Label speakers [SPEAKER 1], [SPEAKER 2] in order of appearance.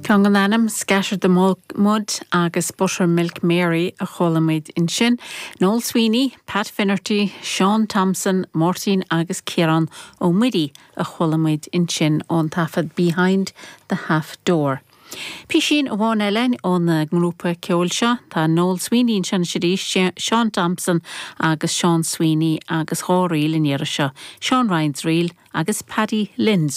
[SPEAKER 1] Ceann den ainm, Scatter the Mud agus Buttermilk Mary a chuala muid ansin. Noel Sweeney, Pat Finnerty, Seán Thompson, Máirtín agus Ciarán Ó Muirí a chuala muid ansin ón taifead Behind the Half Door. Písín amháin eile ón ngrúpa ceoil seo, tá Noel Sweeney anseo anois arís, Seán Thompson agus Seán Sweeney agus dháréag an iarraidh seo, Seán Ryan's Reel agus Paddy Lynn's.